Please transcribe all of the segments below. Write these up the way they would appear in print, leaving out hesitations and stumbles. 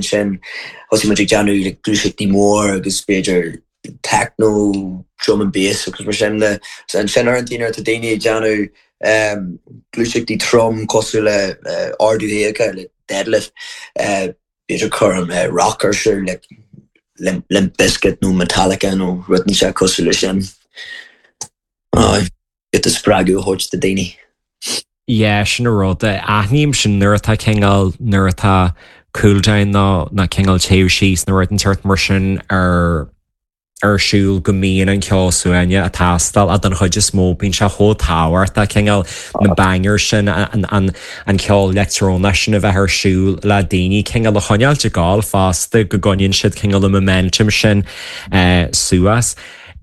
Ansin thosaigh muid ag déanamh like gluaiseachtaí mór agus b'fhéidir techno, drum and bass agus mar sin de. So ansin uaireanta nuair atá daoine ag déanamh gluaiseachtaí trom cosúil le ardú fiacha, like deadlift, b'fhéidir cuirim rock ar siúl like Limp Bizkit nó Metallica nó rud inteacht cosúil le sin. Aye. Giota spreagadh a thabhairt do daoine. Yeah, sin an rud. Aithním sin nuair atá cineál, nuair atá cool down nó nó cineál téamh síos nó rud inteacht mar sin ar ar siúl go mbíonn an ceol suaimhneach ag teastáil ach don chuid is mó bíonn sé chomh tábhachtach cineál na bangers sin, an an an ceol leictreonach sin a bheith ar siúl le daoine cineál a choinneáilt ag gabháil fosta go gcoinníonn siad cineál an momentum sin suas.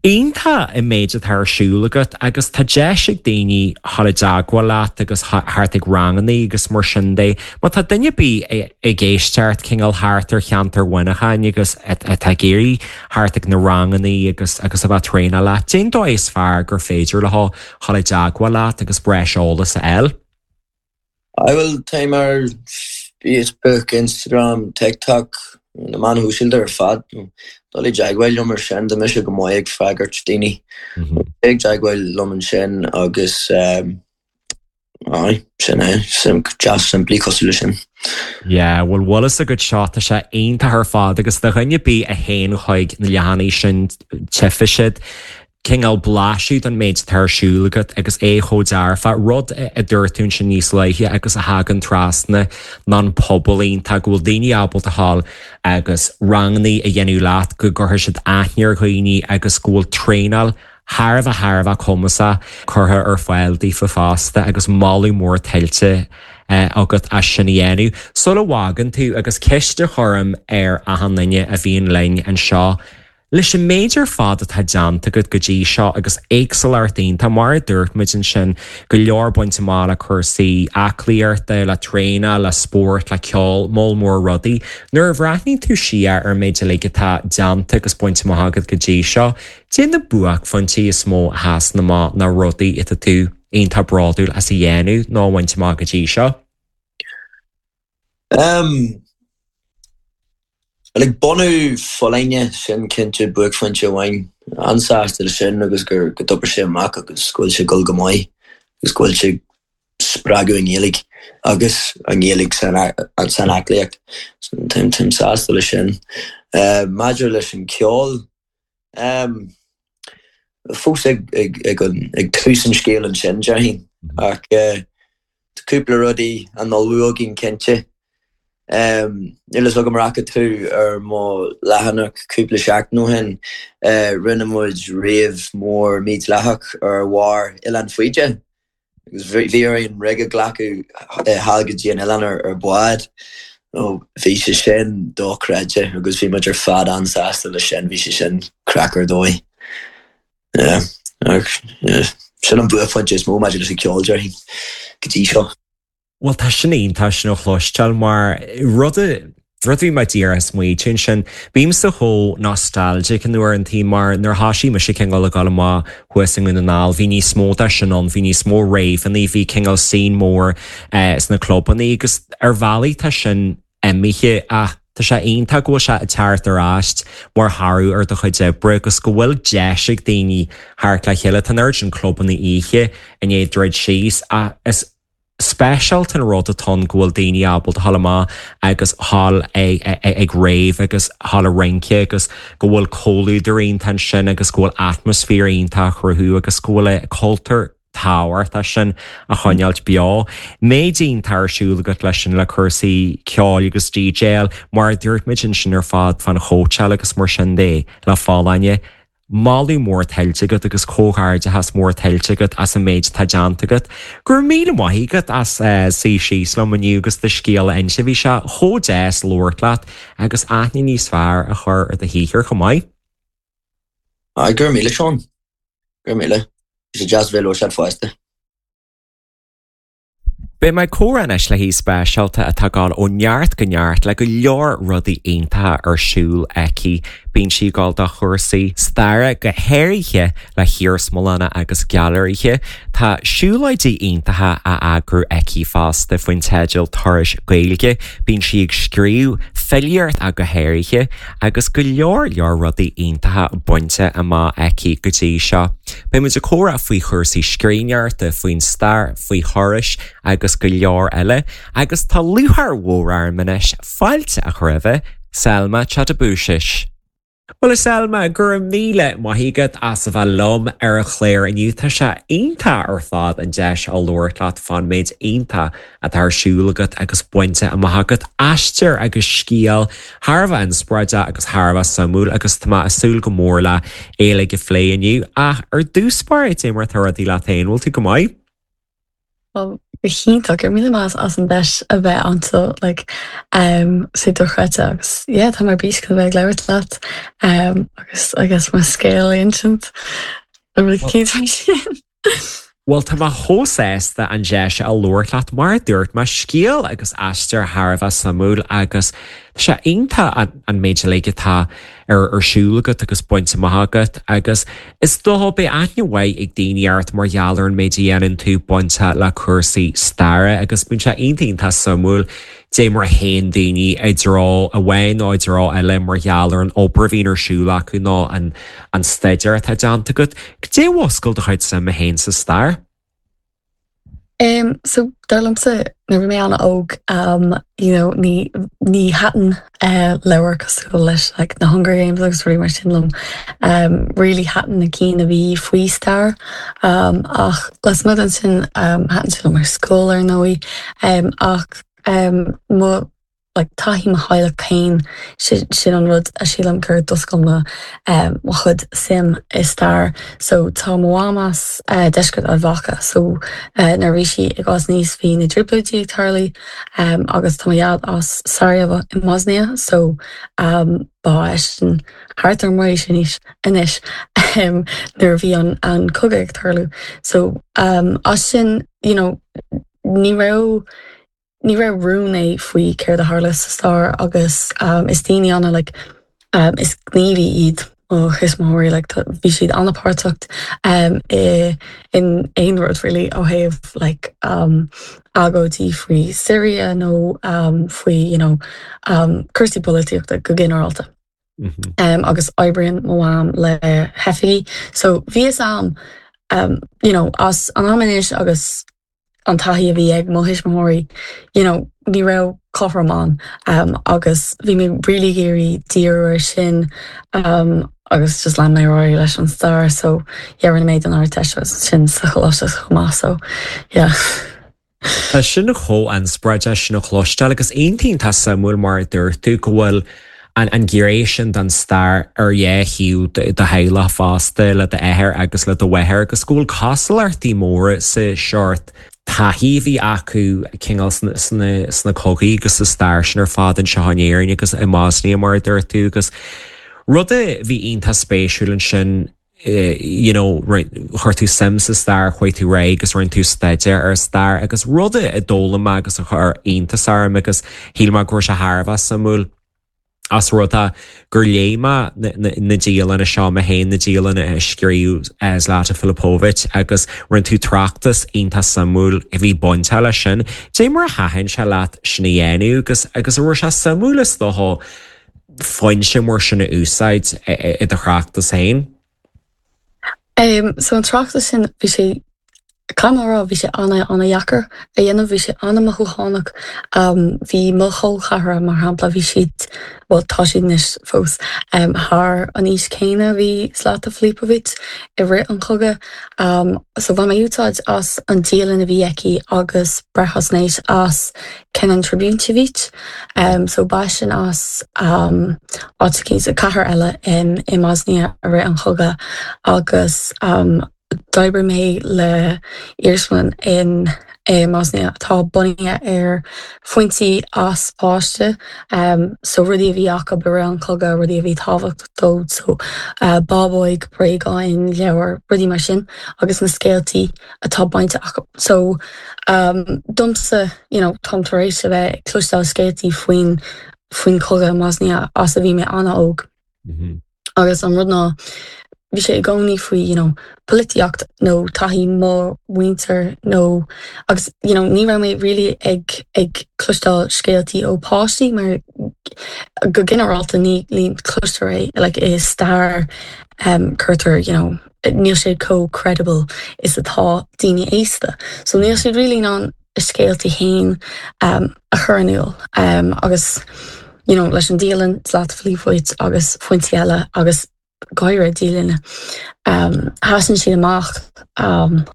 Iontach an méid atá ar siúl agat agus tá deis ag daoine dhul i dteagmháil leat agus theacht ag rangannaí agus mar sin de. Má tá duine ar bith ag éisteacht cineál thart ar cheantar Mhuineacháin agus atá ag iarraidh theacht ag na rangannaí agus agus a bheith ag traenáil leat, cén dóigh is fearr gur féidir leo dhul i dteagmháil leat agus breis eolais a fháil. Aye bhuel, táim ar Facebook, Instagram, TikTok, na meáin shóisialta ar fad. Dul i dteagmháil liom ar sin, tá mise go maith ag freagairt daoine. Téigh i dteagmháil liom ansin agus aye, sin é, deas simplí cosúil leis sin. Yeah, bhuel bhfuil fhios agat seo, tá sé iontach ar fad agus do dhuine ar bith a théann chuig na leathanaigh sin, tchífidh siad cineál blaiseadh den méid atá ar siúl agat agus é chomh dearfa, rud a dúirt tú ansin níos luaithe agus a thagann trasna ná an pobal iontach, go bhfuil daoine ábalta a ghabháil agus rangannaí a dhéanamh leat, go gcuirfidh siad aithne ar dhaoine agus go bhfuil traenáil thar a bheith thar a bheith cumasach curtha ar fáil daofa fosta agus moladh mór tuillte agat as sin a dhéanamh. Sula bhfágann tú, agus ceist a chuirim ar achan duine a bhíonn linn anseo, Leis an méid ar fad atá déanta agat go dtí seo agus éagsúlacht iontach, mar a dúirt muid ansin, go leor bainte amach le cúrsaí aclaíochta, le traenáil, le spórt, le ceol, moll mór rudaí. Nuair a bhreathnaíonn tú siar ar an méid uilig atá déanta agus bainte amach agat go dtí seo, cad é na buaicphointí is mó a sheasann amach nó rudaí atá tú iontach bródúil as a dhéanamh nó a bhaint amach go dtí seo? Umm. Like bunú Folláine, sin cinnte buaicphointe amháin. An-sásta le sin agus gur go d'oibrigh sé amach agus go bhfuil sé ag dul go maith agus go bhfuil sé ag spreagadh an Ghaeilge agus an Ghaeilge san san aclaíocht. So táim táim sásta le sin. Maidir leis an ceol, umm fós ag ag ag an ag tús an scéil ansin déarfainn ach tá cúpla rudaí á n-ullmhú againn cinnte. Níl fhios agam ar fhaca tú ar mo leathanach cúpla seachtain ó shin, rinne muid rave mór mídhleathach ar bharr Oileán Faoide agus bhí orainn rig a ghlacadh thall go dtí an oileán ar bhád. Bhí sé sin dochreidte agus bhí muid ar fad an-sásta leis sin, bhí sé sin craic ar dóigh. Yeah, sin an buaicphointe is mó maidir leis an ceol, déarfainn, go dtí seo. Bhuel, tá sin iontach sin a chloisteáil mar rud a rud a bhí mé díreach ag smaoitiú ansin, bímse chomh nostalgic in uaireantaí mar nuair a thoisigh mise cineál ag dul amach thuas i nDún na nGall, bhí níos mó de sin ann, bhí níos mó raveannaí, bhí cineál scene mór sna clubannaí agus ar bhealaí tá sin imithe ach tá sé iontach go bhfuil sé ag teacht ar ais mar thoradh ar do chuid oibre agus go bhfuil deis ag daoine theacht le chéile. Tá an oiread sin clubanna oíche i ndiaidh druid síos ach is speisialta an rud atá ann go bhfuil daoine ábalta dhul amach agus dhul ag rave agus dhul ag rince agus go bhfuil comhluadar iontach ansin agus go bhfuil atmaisféar iontach á chruthú agus go bhfuil an cultúr tábhachtach sin á choinneáilt beo. Méid iontach ar siúl agat leis sin le cúrsaí ceoil agus DJáil, mar a dúirt muid ansin ar fad fán chóitseáil agus mar sin de le folláine. Moladh mór tuillte agat agus comhghairdeachas mór tuillte agat as an méid atá déanta agat. Go raibh míle maith agat as suí síos liom inniu agus do scéal a inse. Bhí sé chomh deas labhairt leat agus aithne níos fearr a chur ar do shaothar chomh maith. Aye, go raibh míle, Seán. Go raibh míle. Bhí sé deas bheith ag labhairt leat fosta. Beidh mé ag comhrá anois le haoi speisialta atá ag dul ó neart go neart le go leor rudaí iontacha ar siúl aici. Bíonn sí ag gabháil do chúrsaí staire, go háirithe le hiarsmalanna agus gailearaithe. Tá siúlóidí iontacha á eagrú aici fosta faoin teideal Turais Gaeilge. Bíonn sí ag scríobh filíocht ach go háirithe agus go leor leor rudaí iontacha bainte amach aici go dtí seo. Beidh muid ag comhrá faoi chúrsaí scríbhneoireachta, faoin stair, faoi thurais agus go leor eile. Agus tá lúcháir mhór orm anois fáilte a chur roimhe, Selma Chatabousis. Bhuel, a Selma, go raibh míle maith agat as a bheith liom ar an chlár inniu. Tá sé iontach ar fad an deis a labhairt leat fán méid iontach atá ar siúl agat agus bainte amach agat. Aistear agus scéal thar a bheith inspioráideach agus thar a bheith suimiúil agus tá mé ag súil go mór le é uilig a phlé inniu. Ach ar dtús báire, cad é mar atá rudaí leat féin, bhfuil tú go maith? Go hiontach, go raibh míle maith as an deis a bheith anseo like um sé dochreidte agus yeah tá mé ar bís chun a bheith ag labhairt leat um agus I guess mo scéal a insint nó rud eicínt mar sin. Bhuel tá mé chomh sásta an deis a labhairt leat mar a dúirt mé scéal agus aistear thar a bheith suimiúil agus tá sé iontach an méid uilig atá ar ar siúl agat agus bainte amach agat agus is dócha beidh aithne mhaith ag daoine ort mar gheall ar an méid a dhéanann tú bainte le cúrsaí staire agus bíonn sé iontach iontach suimiúil dé mar a théann daoine i dtreo amháin nó i dtreo eile mar gheall ar an obair a bhíonn ar siúl acu nó an an staidéar atá déanta agat. Cad é a mhúscail do chuid suime féin sa stair? Um, so dar liomsa nuair a bhí mé an-óg um, you know, ní, ní thaitin uh, leabhair cosúil leis like, na Hunger Games agus rudaí mar sin liom. Um, really thaitin na cinn a bhí faoi stair um, ach lasmuigh den sin um, thaitin sé liom ar scoil ar ndóigh um, ach um, mo like taithí mo theaghlach féin, sin an rud a sílim gur d'oscail mo mo chuid suim i stair. So tá mo mham as deisceart Ard Mhacha so nuair a bhí sí ag fás aníos bhí na trioblóidí ag tarlú agus tá mo dhaid as Sarajevo i mBosnia so ba eisean thart ar m'aois anois anois nuair a bhí an an cogadh ag tarlú. So as sin you know ní raibh ní raibh rún é faoi céard a tharla sa stair agus is daoine ana like is gníomhaí iad mo thuismitheoirí like bhí siad an-páirteach i in aon rud really ó thaobh like agóidí faoi Syria nó faoi you know cúrsaí polaitíochta go ginearálta. Agus oibríonn mo mham le hoifigí so bhí fhios a'm you know as an am anois agus an taithí a bhí ag mo thuismitheoirí, you know, ní raibh cothrom ann agus bhí mé really ag iarraidh díriú ar sin agus just lean mé ar aghaidh leis an stair so yeah rinne mé don Ardteist agus sin sa choláiste chomh maith so yeah. Tá sin chomh inspioráideach sin a chloisteáil agus iontach iontach suimiúil mar a dúirt tú go bhfuil an an ghné sin den stair ar dhá thaobh do theaghlach fosta, le d'athair agus le do mháthair, agus go bhfuil cosúlachtaí móra sa seort taithí a bhí acu cineál sna sna cogaí agus sa stair sin ar fad anseo in Éirinn agus i mBosnia mar a dúirt tú agus rud a bhí iontach spéisiúil ansin you know, chuir tú suim sa stair, chuaigh tú ar aghaidh agus rinne tú staidéar ar stair agus rud a d'fhoghlaim mé agus a chuir iontas orm agus shíl mé go raibh sé thar a bheith suimiúil ós rud é gur léigh mé na dialanna seo mé féin, na dialanna a scríobh Zlata Filipovic agus rinne tú tráchtas iontach suimiúil a bhí bainteach leis sin. Dé mar a thaitin sé leat sin a dhéanamh agus agus an raibh sé suimiúil is dócha foinse mar sin a úsáid i do thráchtas féin? So an tráchtas sin, bhí sé, caithfidh mé a rá, bhí sé ana-ana-dheacair a dhéanamh, bhí sé ana-mothúchánach. Bhí mo chol ceathracha, mar shampla, bhí siad, bhuel tá siad anois fós, thar an aois céanna a bhí Zlata Filipovic i rith an chogaidh. So bhain mé úsáid as an dialann a bhí aici agus breithaisnéis as Kenan Trivunović. So ba eisean as áit eicínt, cathair eile i mBosnia i rith an chogaidh agus d'oibrigh mé le iarsmalann in i mBosnia atá bunaithe ar foinsí as páiste, so rudaí a bhí acu i rith an chogaidh, rudaí a bhí tábhachtach dóibh, so bábóig, bréagáin, leabhair, rudaí mar sin agus na scéaltaí atá bainte acu. So domsa, you know, táim tar éis a bheith ag cloisteáil scéaltaí faoin faoin chogadh i mBosnia as a bhí mé an-óg. Agus an rud ná, bhí sé i gcónaí faoi, you know, polaitíocht nó taithí mo mhuintir nó, agus, you know, ní raibh mé really ag, ag cloisteáil scéaltaí ó páistí mar go ginearálta ní, ní cloistear é, like, i stair um, cuirtear, you know, níl sé chomh credible is atá daoine aosta. So níl siad really in ann a scéaltaí féin um, a chur in iúl um, agus you know, leis an dialann Zlata Filipovic agus foinsí eile agus go háirithe dialanna um, sheasann siad amach um,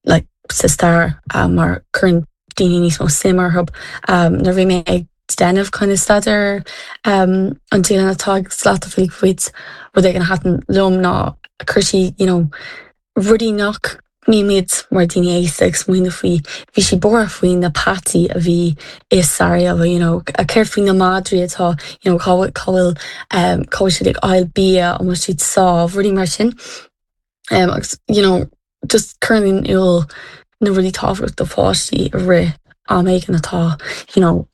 like, sa stair um, mar cuireann daoine níos mó suim orthu. Um, nuair bhí mé ag déanamh kind of staidéar um, an dialann atá ag Zlata Filipovic rud éigin a thaitin liom ná chuir sí you know, rudaí nach mbímid mar daoine aosta ag smaoineamh faoi. Bhí sí buartha faoi na peataí a bhí i Sarajevo, you know, céard faoi na madraí atá, you know, cá bhfuil, cá bhfuil, um, cá bhfuil siad ag fáil bia, an bhfuil siad sámh, rudaí mar sin. Um, agus, you know, just cuireann in iúl na rudaí tábhachtach do pháistí i rith am éigin atá, you know,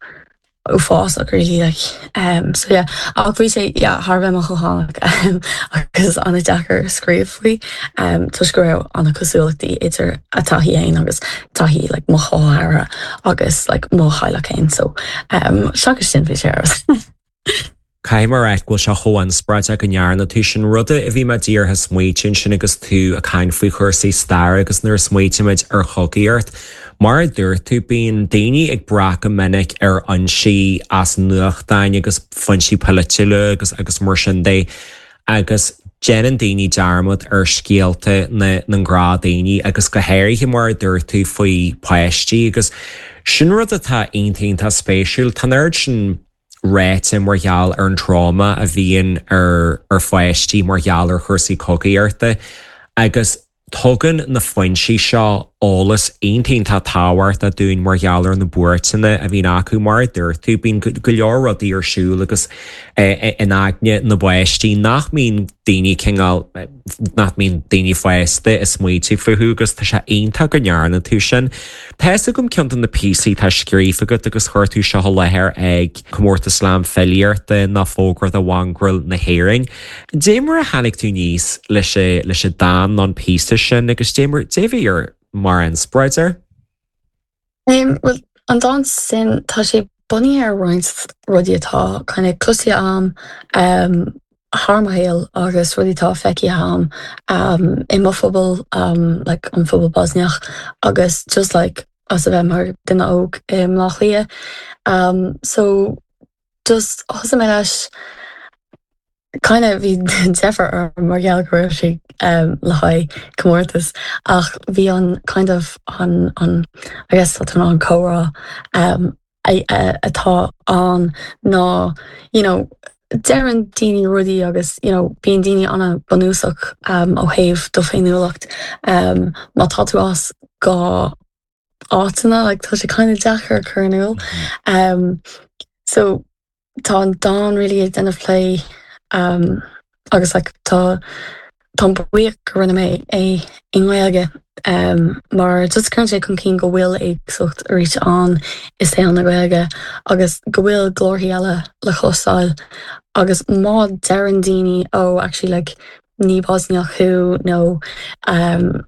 uafásach really like um so yeah ach bhí sé yeah thar a bheith mothúchánach um agus an-deacair scríobh faoi um toisc go raibh an-chosúlachtaí idir a taithí fhéin agus taithí like mo chol ceathracha agus like mo theaghlach fhéin so um seachas sin bhí sé ar fheabhas. Caithfidh mé a rá go bhfuil sé chomh inspioráideach go ndearna tú sin. Rud a bhí mé díreach ag smaoitiú ansin agus tú ag caint faoi chúrsaí staire agus nuair a smaoitímid ar chogaíocht, mar a dúirt tú, bíonn daoine ag brath go minic ar fhoinsí as nuachtáin agus foinsí polaitiúla agus agus mar sin de agus déanann daoine dearmad ar scéalta na na ngnáthdhaoine agus go háirithe mar a dúirt tú faoi pháistí agus sin rud atá iontach iontach spéisiúil. Tá an oiread sin ráite mar gheall ar an tráma a bhíonn ar ar pháistí mar gheall ar chúrsaí cogaíochta agus tugann na foinsí seo eolas iontach iontach tábhachtach dúinn mar gheall ar na buairteanna a bhíonn acu. Mar a dúirt tú, bíonn go leor rudaí ar siúl agus in aigne na bpáistí nach mbíonn daoine cineál, nach mbíonn daoine fásta ag smaoitiú fúthu agus tá sé iontach go ndearna tú sin. Tá fhios agam ceann de na píosaí atá scríofa agat agus chuir tú seo i láthair ag Comórtas Slam Filíochta ná Fógra do Mhongrail na hÉireann. Dé mar a tháinig tú aníos leis leis an dán nó an píosa sin agus dé mar dé bhí ar mar inspioráid air? Bhuel, an dán sin, tá sé bunaithe ar roinnt rudaí atá kind of cloiste agam thar mo shaol agus rudaí atá feicthe agam i mo phobal, like an phobal Bosniach agus just like as a bheith mar duine óg i mBleá Cliath. So just thosaigh mé leis. Kind of bhí deifir orm mar gheall go raibh sé le haghaidh comórtas ach bhí an kind of an an I guess tá an comhrá atá ann ná you know deireann daoine rudaí agus you know bíonn daoine an-bhunúsach ó thaobh do féiniúlacht má tá tú as dhá áiteanna like tá sé kind of deacair a chur in iúl. So tá an dán really ag déanamh plé um, agus like, tá táim buíoch go rinne mé é i nGaeilge um, mar just cuireann sé chun cinn go bhfuil éagsúlacht arís ann i saol na Gaeilge agus go bhfuil glórthaí eile le cloisteáil agus má deireann daoine oh actually like ní Bosniach thú nó um,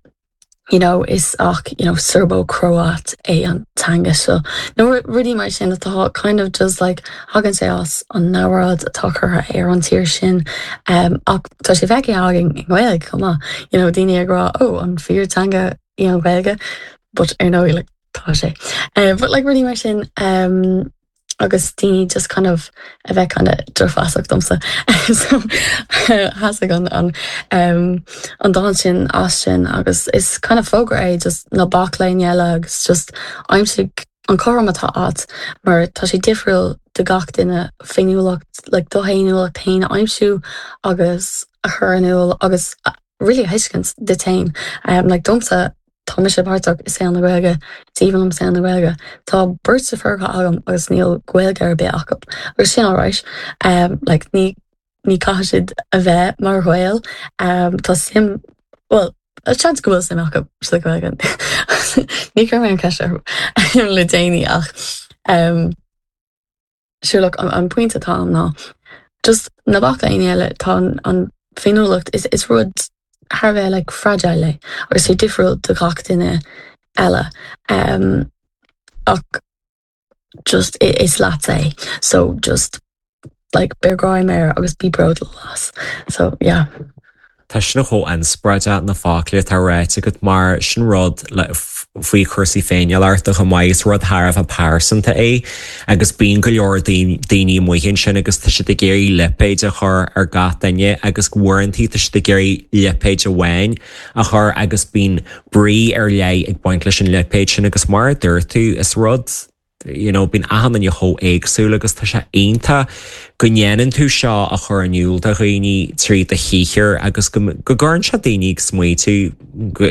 you know, is ach you know, Serbo-Croat é an teanga seo. Nó rudaí mar sin atá kind of just like thagann sé as an namhaid atá curtha ar an tír sin um, ach tá sé feicthe againn i nGaeilge chomh maith. You know, daoine ag rá oh an fíor teanga í an Ghaeilge, but ar ndóigh like, tá sé. Uh, but like rudaí mar sin um, agus daoine just kind of a bheith kind of drochmheasach domsa. So thosaigh an an um, an dán sin as sin agus is kind of fógra é just ná bac le éinne eile agus just aimsigh an cothrom atá agat mar tá sé difriúil do gach duine féiniúlacht like do fhéiniúlacht féin a aimsiú agus a chur in iúl agus really a thuiscint duit féin. Um, like domsa Tá mise páirteach i saol na Gaeilge, is aoibhinn liom saol na Gaeilge. Tá beirt deirfiúracha agam agus níl Gaeilge ar bith acu agus sin alright. Um, like, ní, ní caithfidh siad a bheith mar Ghaeil. Um, tá suim, well, seans go bhfuil suim acu sa Ghaeilge. Ní chuir mé an ceist orthu le déanaí ach um, Sure look, an, an pointe atá ann ná. Just ná bac le éinne eile, tá an féiniúlacht, is is rud thar a bheith like fragile é agus sé difriúil do gach duine eile. Um, ach just is leatsa é so just like beir greim air agus bí bródúil as. So yeah. Tá sin chomh inspioráideach na focla atá ráite agat mar sin rud le faoi chúrsaí féiniúlachta chomh maith is rud thar a bheith pearsanta é agus bíonn go leor daoine amuigh ansin agus tá siad ag iarraidh lipéid a chur ar gach duine agus uaireanta tá siad ag iarraidh lipéid amháin a chur agus bíonn brí ar leith ag baint leis an lipéad sin agus mar a dúirt tú is rud you know bíonn achan duine chomh éagsúil agus tá sé iontach go ndéanann tú seo a chur in iúl do dhaoine trí do shaothar agus go go gcuireann sé daoine ag smaoitiú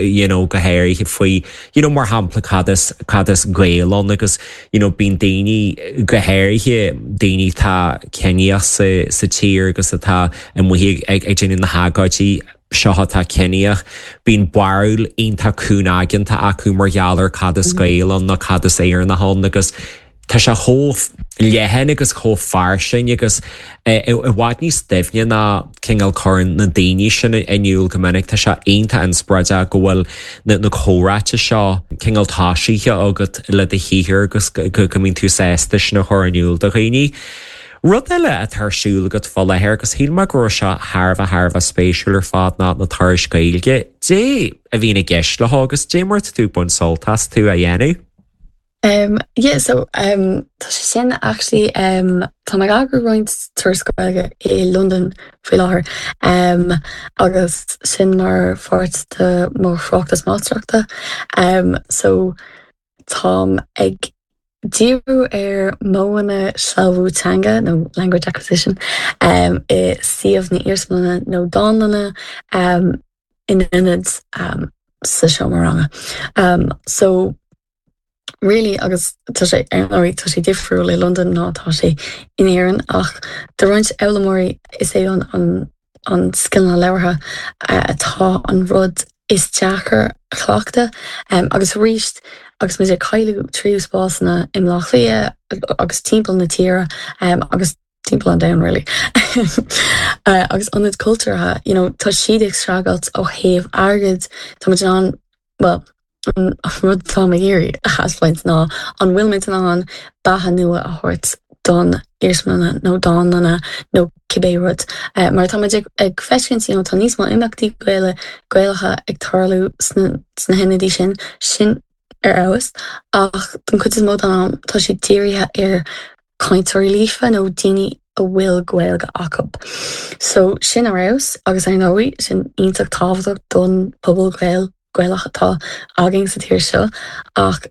you know go háirithe faoi you know mar shampla cad is cad is Gael ann agus you know bíonn daoine go háirithe daoine atá ciníoch sa sa tír agus atá amuigh ag ag ag déanamh na hagóidí seo atá ciníoch, bíonn barúil iontach cúngaigeanta acu mar gheall ar cad is Gael ann nó cad is Éireannach ann agus tá sé chomh leathan agus chomh fairsing agus i bhfad níos doimhne ná cineál cuireann na daoine sin in iúl go minic. Tá sé iontach inspioráideach go bhfuil na comhráite seo cineál tosaithe agat le do shaothar agus go mbíonn tú sásta sin a chur in iúl do dhaoine. Rud eile atá ar siúl agat fá láthair agus shíl mé go raibh seo thar a bheith thar a bheith spéisiúil ar fad ná na turais Gaeilge. Dé a bhíonn i gceist leo agus dé mar atá tú ag baint sult astu a dhéanamh? Um, yeah, so um, tá sé sin actually um, tá mé ag eagrú roinnt turas Gaeilge i Londain faoi láthair um, agus sin mar pháirt de mo thráchtas máistreachta. Um, so Táim ag díriú ar mhodhanna sealbhú teanga, nó language acquisition, i suíomh na iarsmalainne nó dánlainne in ionad sa seomra ranga. So really, agus tá sé, ar ndóigh, tá sé difriúil i Londain ná atá sé in Éirinn, ach do roinnt foghlaimeoirí is é an an scileanna labhartha atá an rud is deacair a chleachtadh. Agus arís, agus muid ag cailleadh tríú spásanna i mBleá Cliath agus timpeall na tíre agus timpeall an domhain really, agus ionaid cultúrtha, you know, tá siad ag streachailt ó thaobh airgid, tá muid in ann, bhuel, An rud atáim ag iarraidh a thaispeáint ná an bhfuil muid in ann beatha nua a thabhairt don iarsmalanna nó dánlanna nó cibé rud. Mar tá muid ag feiscint, you know, tá níos mó imeachtaí Gaeilge, Gaelacha ag tarlú sna sna hionadaí sin, sin ar fheabhas, ach don chuid is mó den am tá siad dírithe ar cainteoirí líofa nó daoine a bhfuil Gaeilge acu. So sin ar fheabhas agus ar ndóigh sin iontach tábhachtach don pobal Gael, Gaelach atá againn sa tír seo ach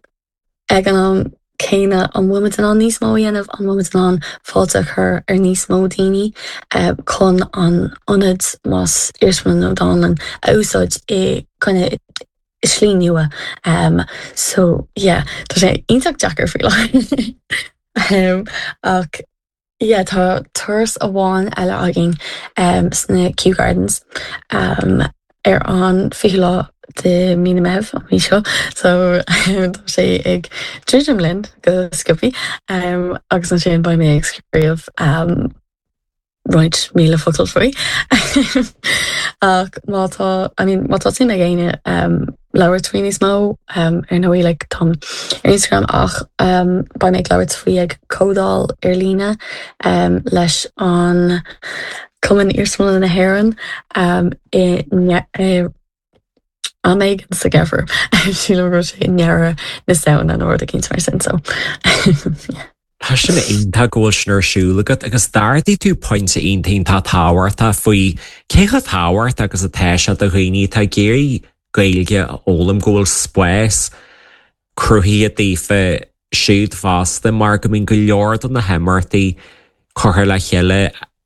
ag an am céanna an bhfuil muid in ann níos mó a dhéanamh? An bhfuil muid in ann fáilte a chur ar níos mó daoine chun an ionad, más iarsmalann nó dánlann, a úsáid i gcoinne i slí nua. So yeah, tá sé iontach deacair faoi láthair. Ach yeah, tá turas amháin eile againn sna Kew Gardens ar an 20ú lá de mí na Meitheamh, an mhí seo, so tá sé ag druidim linn go sciobtha agus ansin beidh mé ag scríobh roinnt míle focal faoi. Ach má tá, I mean, má tá suim ag éinne labhairt faoi níos mó, ar ndóigh, like, táim ar Instagram ach beidh mé ag labhairt faoi ag comhdháil ar líne leis an Cumann Iarsmalanna na hÉireann i am éigin sa gheimhreadh. Sílim go raibh sé i ndeireadh na Samhna nó rud eicínt mar sin so yeah. Tá sin iontach go bhfuil sin ar siúl agat agus d'ardaigh tú pointe iontach iontach tábhachtach faoi cé chomh tábhachtach agus atá sé do dhaoine atá ag iarraidh Gaeilge a fhoghlaim go bhfuil spás cruthaithe daofa siúd fosta mar go mbíonn go leor de na himeachtaí curtha le chéile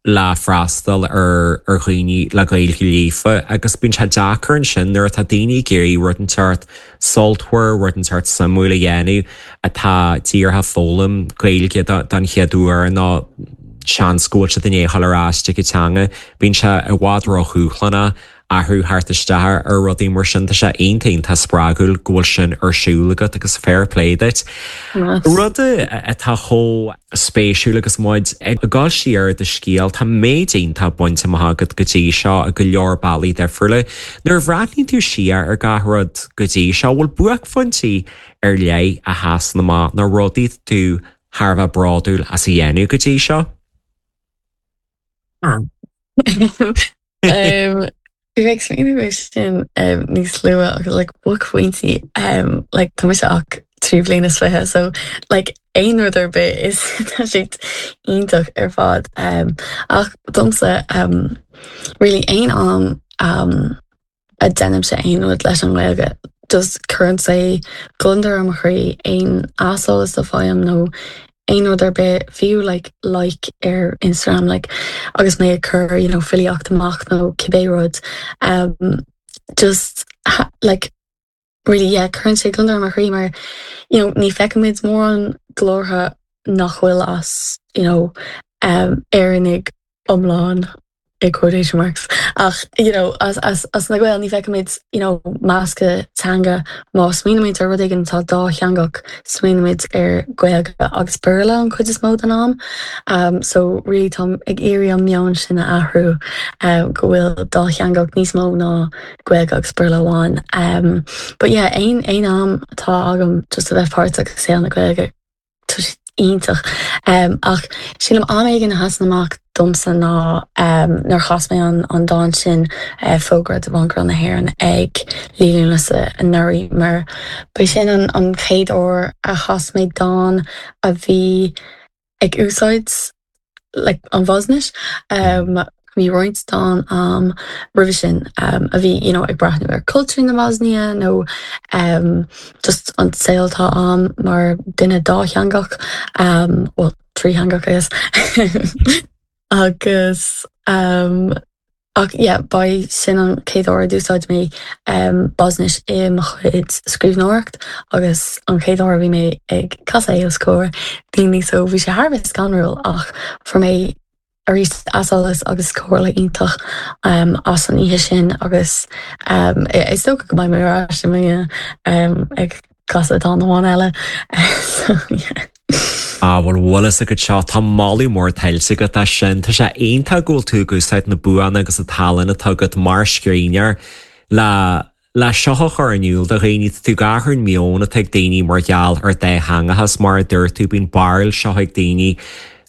le freastal ar ar dhaoine le Gaeilge líofa agus bíonn sé deacair ansin nuair atá daoine ag iarraidh rud inteacht sultmhar, rud inteacht suimiúil a dhéanamh atá díreach ag foghlaim Gaeilge don chéad uair nó seans go bhfuil siad i ndiaidh a dhul ar ais ag an teanga. Bíonn sé i bhfad ródhúshlánach. athrú theacht isteach ar rudaí mar sin. Tá sé iontach iontach spreagúil go bhfuil sin ar siúl agat agus fair play duit. Rud atá chomh spéisiúil agus muid ag dul siar ar do scéal, tá méid iontach bainte amach agat go dtí seo i go leor bealaí difriúla. Nuair a bhreathnaíonn tú siar ar gach rud go dtí seo, bhfuil buaicphointí ar leith a sheasann amach nó rudaí atá tú thar a bheith bródúil as a dhéanamh go dtí seo? Bhí mé ag smaoineamh air sin níos luaithe agus like buaicphointí like tá mise ach 23 bliana so like aon rud ar bith is tá sé iontach ar fad ach domsa really aon am a déanaimse aon rud leis an nGaeilge just cuireann sé gliondar ar mo chroí aon aiseolas a fhaighim nó aon rud ar bith fiú like like ar Instagram like agus mé ag cur you know filíocht amach nó cibé rud um just like really yeah cuireann sé gliondar ar mo chroí mar you know ní feicimid mórán glórtha nach bhfuil as you know um Éireannaigh iomlán i quotation marks ach you know as as as na Gaeil ní feicimid you know meascadh teanga má smaoinímid ar rud éigin atá dátheangach smaoinímid ar Gaeilge agus Béarla an chuid is mó den am um so really táim ag iarraidh an meon sin a athrú um go bhfuil dátheangach níos mó ná Gaeilge agus Béarla amháin um but yeah aon aon am atá agam just a bheith páirteach i saol na Gaeilge Tá sé iontach. Ach sílim am éigin a sheasann amach domsa ná nuair a chas mé an dán sin, Fógra do Bhanc na hÉireann ag Liú Lúnasa anuraidh, mar ba sin an chéad uair a chas mé dán a bhí ag úsáid like an Bhoisnis. Bhí roinnt dán a'm roimhe sin a bhí you know ag breathnú ar cultúr na Boisnia nó just an saol atá a'm mar duine dátheangach, well trítheangach I guess agus ach yeah ba é sin an chéad uair a d'úsáid mé Boisnis i mo chuid scríbhneoireacht agus an chéad uair a bhí mé ag casadh é os comhair daoine so bhí sé thar a bheith scanrúil ach fuair mé arís aiseolas agus comhairle iontach as an oíche sin agus is dócha go mbeidh mé ar ais i mbliana ag casadh dán amháin eile so yeah. Ah bhuel bhfuil fhios agat seo, tá moladh mór tuillte agat as sin. Tá sé iontach go bhfuil tú ag úsáid na buanna agus an tallann atá agat mar scríbhneoir le le seo a chur in iúl do dhaoine. Tá tú ag athrú an meon atá ag daoine mar gheall ar dátheangachas. Mar a dúirt tú, bíonn barúil seo ag daoine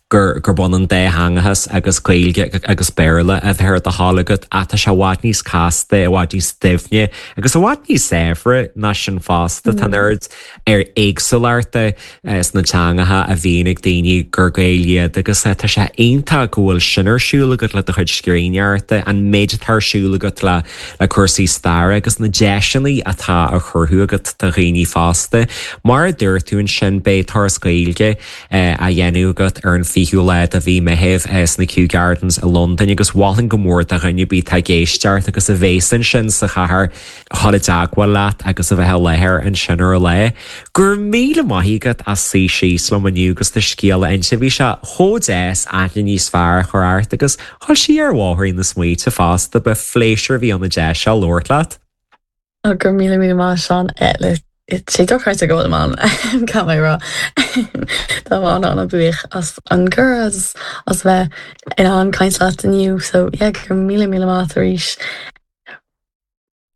gur gurb ionann dátheangachas agus Gaeilge agus Béarla a bheith ar do thoil agat ach tá sé i bhfad níos casta, i bhfad níos doimhne agus i bhfad níos saibhre ná sin fosta. Tá an oiread ar éagsúlachta sna teangacha a bhíonn ag daoine gur Gaeil iad agus tá sé iontach go bhfuil sin ar siúl agat le do chuid scríbhneoireachta, an méid atá ar siúl agat le le cúrsaí staire agus na deiseanna atá á chruthú agat do dhaoine fosta. Mar a dúirt tú ansin, beidh turas Gaeilge á dhéanamh agat ar an 20ú lá de mhí Meitheamh sna Kew Gardens i Londain agus mholfainn go mór do dhuine ar bith atá ag éisteacht agus a bhéas ansin sa chathair dhul i dteagmháil leat agus a bheith i láthair ansin ar an lá. Go raibh míle maith agat as suí síos liom inniu agus do scéal a inse. Bhí sé chomh deas aithne níos fearr a chur ort agus dhul siar ar bhóithrín na smaointe fosta. Ba phléisiúr a bhí ann an deis seo labhairt leat. Go raibh míle míle maith Seán. Tá sé dochreidte go bhfuil mé ann, caithfidh mé a rá. Tá mé an-an-bhuíoch as an gcuireadh agus as bheith in ann caint leat inniu. So yeah, go raibh míle míle maith arís.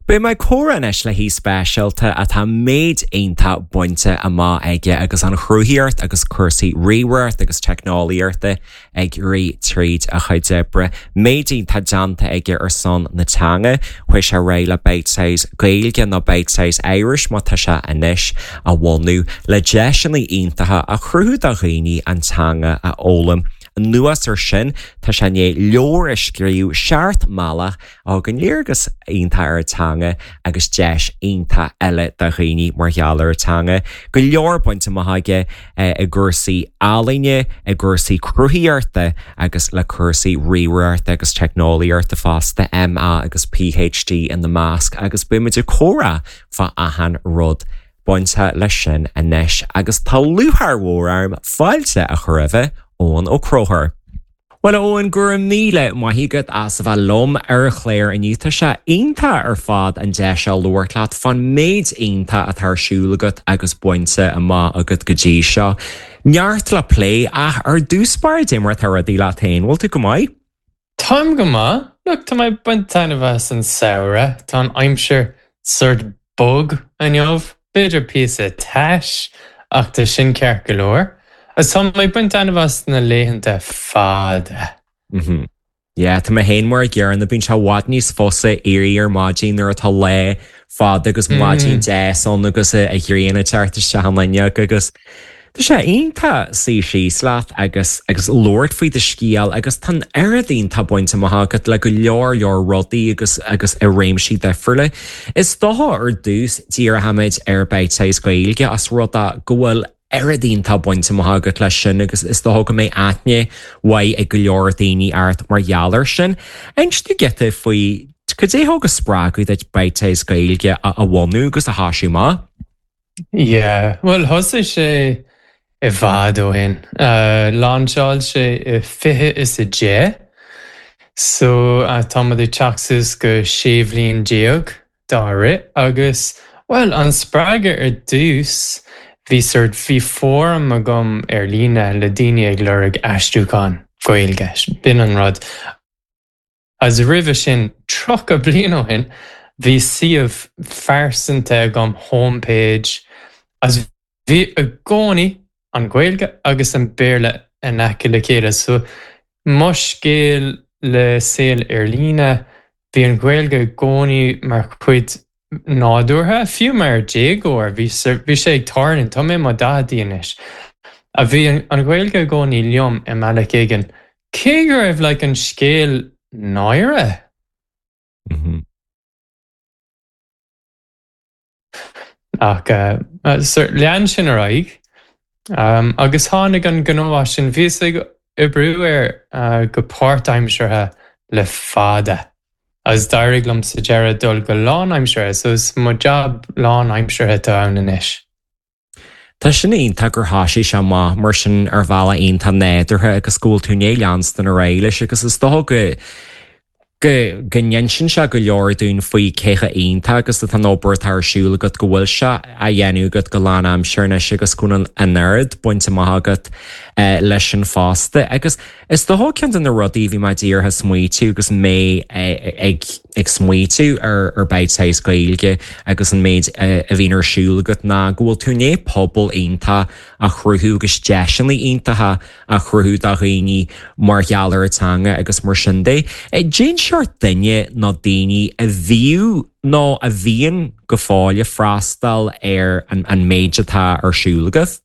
Beidh mé ag comhrá anois le haoi speisialta atá méid iontach bainte amach aige agus an chruthaíocht agus cúrsaí ríomhaireachta agus teicneolaíochta ag rith tríd a chuid oibre. Méid iontach déanta aige ar son na teanga. Chuaigh sé ar aghaidh le Bitesize Gaeilge nó Bitesize Irish mar tá sé anois a bhunú le deiseanna iontacha a chruthú do dhaoine an teanga a fhoghlaim. Anuas ar sin, tá sé i ndiaidh leabhar a scríobh, Seacht mBealach, a thugann léargas iontach ar an teanga agus deis iontach eile do dhaoine mar gheall ar an teanga. Go leor bainte amach aige i gcúrsaí ealaíne, i gcúrsaí cruthaíochta agus le cúrsaí ríomhaireachta agus teicneolaíochta fosta, MA agus PhD ina measc agus beidh muid ag comhrá fá achan rud bainte leis sin anois agus tá lúcháir mhór orm fáilte a chur roimhe, Eoin Ó Conchúir. Bhuel, a Eoin, go raibh míle maith agat as a bheith liom ar an chlár inniu. Tá sé iontach ar fad an deis seo labhairt leat fán méid iontach atá ar siúl agat agus bainte amach agat go dtí seo. Neart le plé, ach ar dtús báire cad é mar atá rudaí leat féin, bhfuil tú go maith? Táim go maith. Look, tá mé ag baint taitneamh as an samhradh. Tá an aimsir sort bog inniu, b'fhéidir píosa tais, ach tá sin ceart go leor. Agus tá mé ag baint taitneamh as na laethanta fada. Mhm. Yeah, tá mé féin mar a gcéanna, bíonn sé i bhfad níos fusa éirí ar maidin nuair atá lá fada agus maidin deas ann agus an ghrian ag teacht isteach an fhuinneog agus Tá sé iontach suí síos leat agus agus labhairt faoi do scéal agus tá an oiread iontach bainte amach agat le go leor leor rudaí agus agus i réimsí difriúla. Is dócha ar dtús díreoimid ar Bitesize Gaeilge as rud é go bhfuil oiread iontach bainte amach agat leis sin agus is dócha go mbeidh aithne mhaith ag go leor daoine ort mar gheall air sin. Inis dúinn giota faoi cad é thug an spreagadh duit Bitesize Gaeilge a a bhunú agus a thoisiú amach. Yeah, bhuel thosaigh sé i bhfad ó shin. Lainseáil sé i 2010, so tá muid ag teacht suas go 16 bhliain dá rith agus, bhuel, an spreagadh ar dtús, bhí sort, bhí fóram agam ar líne le daoine ag lorg aistriúchán Gaeilge, b'in an rud. Agus roimhe sin, 30 bliain ó shin, bhí suíomh phearsanta agam, home page, agus bhí i gcónaí an Ghaeilge agus an Béarla in aice le chéile. So, mo scéal le saol ar líne, bhí an Ghaeilge i gcónaí mar chuid nádúrtha, fiú mar déagóir, bhí bhí sé ag tarlú, tá mé i mo daicheadaí anois, a bhí an Ghaeilge i gcónaí liom i mbealach éigin, cé go raibh like an scéal náire. Ach lean sin ar aghaidh agus tháinig an gnó as sin, bhíos ag oibriú air go páirtaimseartha le fada. Agus d'éirigh liom sa deireadh dul go lánaimseartha, so is mo jab lánaimseartha atá ann anois. Tá sin iontach gur thoisigh sé amach mar sin ar bhealach iontach nádúrtha agus go bhfuil tú i ndiaidh leanstan ar aghaidh leis agus is dócha go go go n-insíonn sé go leor dúinn faoi cé chomh iontach agus atá an obair atá ar siúl agat go bhfuil sé á dhéanamh agat go lánaimseartha anois agus go bhfuil an oiread bainte amach agat leis sin fosta. Agus Is dócha ceann de na rudaí a bhí mé díreach ag smaoitiú agus mé ag ag smaoitiú ar ar Bitesize Gaeilge agus an méid a bhíonn ar siúl agat ná go bhfuil tú i ndiaidh pobal iontach a chruthú agus deiseanna iontacha a chruthú do dhaoine mar gheall ar an teanga agus mar sin de. Cén seort duine nó daoine a bhíodh nó a bhíonn go fóill ag freastal ar an méid atá ar siúl agat?